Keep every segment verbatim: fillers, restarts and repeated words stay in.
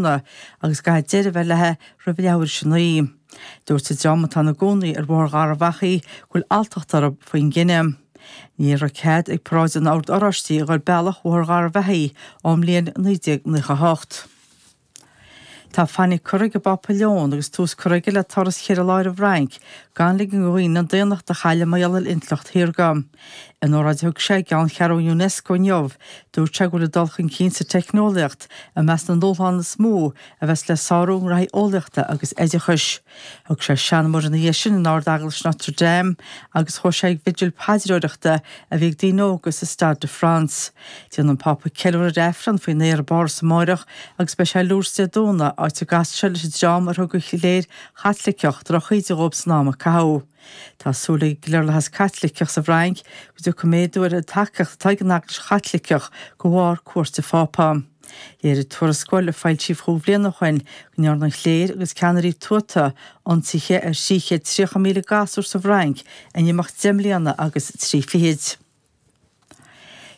Agus caithfidh deireadh a bheith léi roimh leathuair tar éis a naoi. Dúirt an dream atá ina gcónaí ar Bhóthar Gharbh Achaidh go bhfuil alltacht orthu faoin gcinneadh. Ní raibh cead ag paráid an Oird Oráistigh a dhul bealach Bhóthar Gharbh Achaidh ón mbliain naoi déag nócha a hocht. Tá fainic curtha ag an bPápa Leon agus tús curtha aige le turas cheithre lá ar an bhFrainc gan ligean do dhaoine an daonnacht a chailleadh mar gheall ar intleacht shaorga. In óráid a thug sé i gceanncheathrú Unesco inniu, dúirt sé go bhfuil an dul chun cinn sa teicneolaíocht i measc na ndúshlán is mó a bheas le sárú i ngraithí eolaíochta agus oideachais. Thug sé seanmóir ina dhiaidh sin in Ard-Eaglais Notre Dame agus chuaigh sé ag bigil paidreoireachta a bhí ag daoine óga sa Stade de France. Déanfaidh an Pápa ceiliúradh ar Aifreann faoin aer i bPáras amáireach agus beidh sé i Lourdes Dé Domhnaigh, áit a gcasfaidh sé leis an dream ar thug an chléir Chaitliceach drochíde dhóibh san am a caitheadh. Tá súil ag an gcliarlathas Caitliceach sa bhFrainc go dtiocfaidh méadú ar an tacaíocht atá ag an Eaglais Chaitliceach de bharr cuairt an Phápa. Léirigh tuarascáil a foilsíodh dhá bhliain ó shin go ndearna an chléir agus ceannairí tuata ionsaithe ar thrí chéad tríocha míle gasúr sa bhFrainc in imeacht deich mbliana agus trí fichid.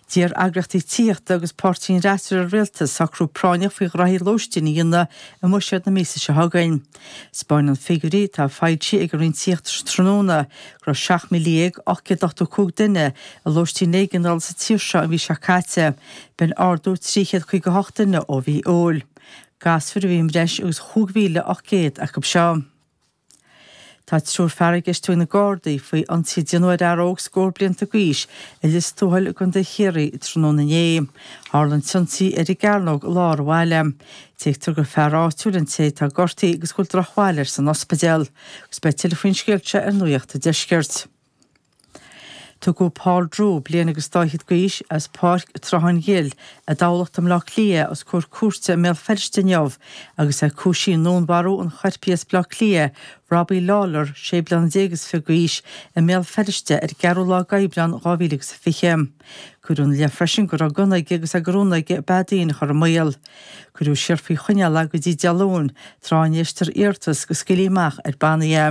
D'iarr eagraíochtaí tithíochta agus páirtí an fhreasúra ar an rialtas socrú práinneach faoi ghraithí lóistín a dhéanamh i mbuiséad na míosa seo chugainn. 'Spáineann figiúirí atá foilsithe ag an Roinn Tithíochta tráthnóna go raibh seacht míle dhéag ocht gcéad ochtó cúig duine i lóistín éigeandála sa tír seo an mhí seo caite, b'in ardú trí chéad caoga hocht duine ó mhí Iúil. Gasúir a bhí i mbreis agus chúig mhíle ocht gcéad acu seo. Tá triúr fear á gceistiú ag na Gardaí faoi ionsaí a déanadh ar fhear óg scór blianta d'aois i Lios Tuathail i gContae Chiarraí tráthnóna inné. Tharla an t-ionsaí ar an gCearnóg i lár an bhaile. Tuigtear gur fear áitiúil an té atá gortaithe agus go bhfuil drochbhail air san ospidéal. Agus beidh tuilleadh faoin scéal seo ar Nuacht an Deiscirt. Tugadh Paul Drew, bliain agus dá fhichead d'aois, as Páirc Sruthán Ghil i dTamhlacht i mBleá Cliath os comhair cúirte i mBéal Feirste inniu agus é cúisithe i ndúnmharú an choirpigh as Bleá Cliath, Robbie Lawlor, sé bliana déag is fiche d'aois, i mBéal Feirste ar an gceathrú lá d'Aibreán dhá mhíle agus a fiche. Cuireadh ina leith freisin go raibh gunna aige agus é de rún aige beatha daoine a chur i mbaol. Cuireadh siar faoi choinneáil é go dtí Dé Luain, tráth a n-éistfear iarratas go scaoilfí amach ar bannaí é.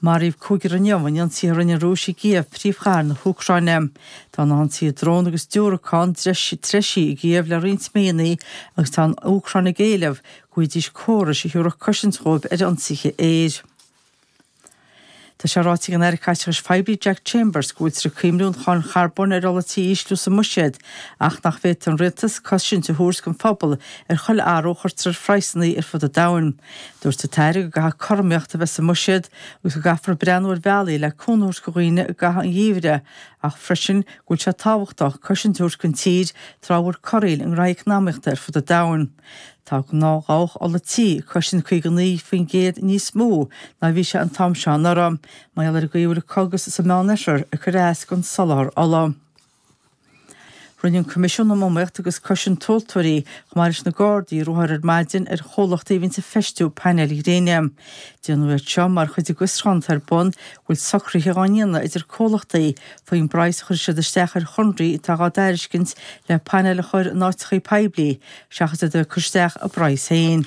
Maraíodh cúigear inniu in ionsaithe a rinne an Rúis i gCív, príomhchathair na hÚcráine. Tá na hionsaithe drón agus diúracán treisithe i gCív le roinnt míonna agus tá an Úcráin ag éileamh go bhfaighidís córais a thabharfadh cosaint dhóibh ar ionsaithe aeir. Tá sé ráite ag an Aire Caiteachais Phoiblí Jack Chambers go bhfuiltear ag cuimhniú an cháin charbóin ar ola tí a ísliú sa mbuiséad ach nach bhféadfaidh an rialtas cosaint a thabhairt don phobal ar chuile athrú a chuirtear ar phraghsanna ar fud an domhain. Dúirt an tAire go gcaithfidh cothromaíocht a bheith sa mbuiséad agus go gcaithfear breathnú ar bhealaí le cúnamh a thabhairt do dhaoine i gcaitheamh an gheimhridh ach freisin go bhfuil sé tábhachtach cosaint a thabhairt don tír tráth a bhfuil corraíl i ngraithí eacnamaíochta ar fud an domhain. Tá gnáthdhabhach ola tí ag cosaint caoga naoi faoin gcéad níos mó ná a bhí sé an t-am seo anuraidh, mar gheall ar an gcaoi a bhfuil an cogadh sa Meánoirthear ag cur as don soláthar ola. Rinne an Coimisiún um Iomaíocht agus Cosaint Tomhaltóirí, chomh maith leis na Gardaí, ruathar ar maidin ar chomhlachtaí a bhíonns ag feistiú painéil ghréine. Déanadh iad seo mar chuid den bhfiosrúchán atá ar bun go bhfuil socruithe á ndéanamh idir comhlachtaí faoin bpraghas a chuirfidh siad isteach ar chonraí atá dhá dtairiscint le painéil a chur in áiteachaí poiblí seachas iad a bheith ag cur isteach a bpraghas féin.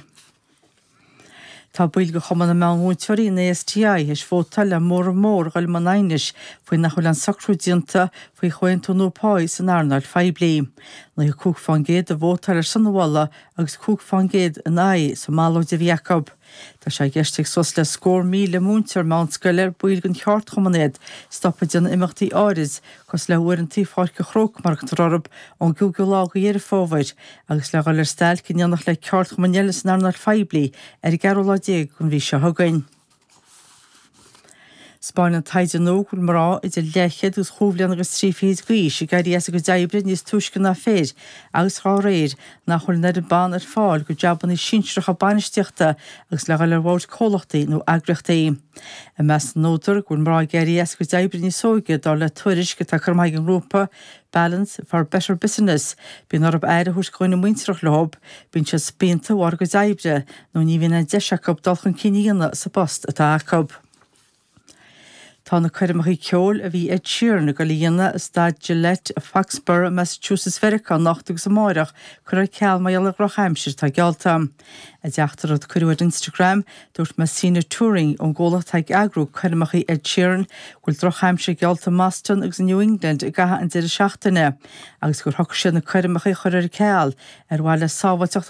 Tá baill de Chumann na Meánmhúinteoirí, an ASTI, théis vótáil le móramh mór a dhul i mbun aighnis faoi nach bhfuil aon socrú déanta faoi chomhaontú nua páí san earnáil phoiblí. Nócha cúig fán gcéad a vótáil ar son an mholadh agus cúig fán gcéad in aghaidh sa mballóid a bhí acu. Tá sé i gceist ag suas le scór míle múinteoir meánscoile ar baill den cheardchumann iad stop ag déanamh imeachtaí áirid cosúil le huaireanta Pháirc an Chrócaigh mar a thugtar orthu ón gcúigiú lá de Dheireadh Fómhair agus le dhul ar stailc in éineacht le ceardchumainn eile san earnáil phoiblí ar an gceathrú lá déag den mhí seo chugainn. 'Spáineann taighde nua go bhfuil mná idir leathchéad agus chúig bhliana agus trí fichid d'aois ag éirí as a gcuid oibre níos túisce ná fir agus dá réir nach bhfuil an oiread ban ar fáil do jabanna sinsearacha bainistíochta agus le dhul ar bhoird comhlachtaí nó eagraíochtaí. I measc na n-údar go bhfuil mná ag éirí as a gcuid oibre níos óige dar le tuairisc atá curtha amach ag an ngrúpa Balance for Better Business, bíonn orthu aire a thabhairt do dhuine muintearach leo, bíonn siad spíonta de bharr a gcuid oibre nó ní bhíonn aon deis acu dul chun cinn a dhéanamh sa bpost atá acu. Tá na coirmeacha ceoil a bhí Ed Sheeran ag dul a dhéanamh i Staid Gillette Foxborough, Massachusetts Mheiriceá anocht agus amárach curtha ar ceal mar gheall ar dhrochaimsir atá geallta. I dteachtaireacht a cuireadh ar Instagram, dúirt Messina Touring ón gcomhlacht atá ag eagrú coirmeacha Ed Sheeran go bhfuil drochaimsir geallta i mBoston agus i New England i gcaitheamh an deireadh seachtaine agus gur shocraigh siad na coirmeacha a chur ar ceal ar mhaithe le sábháilteacht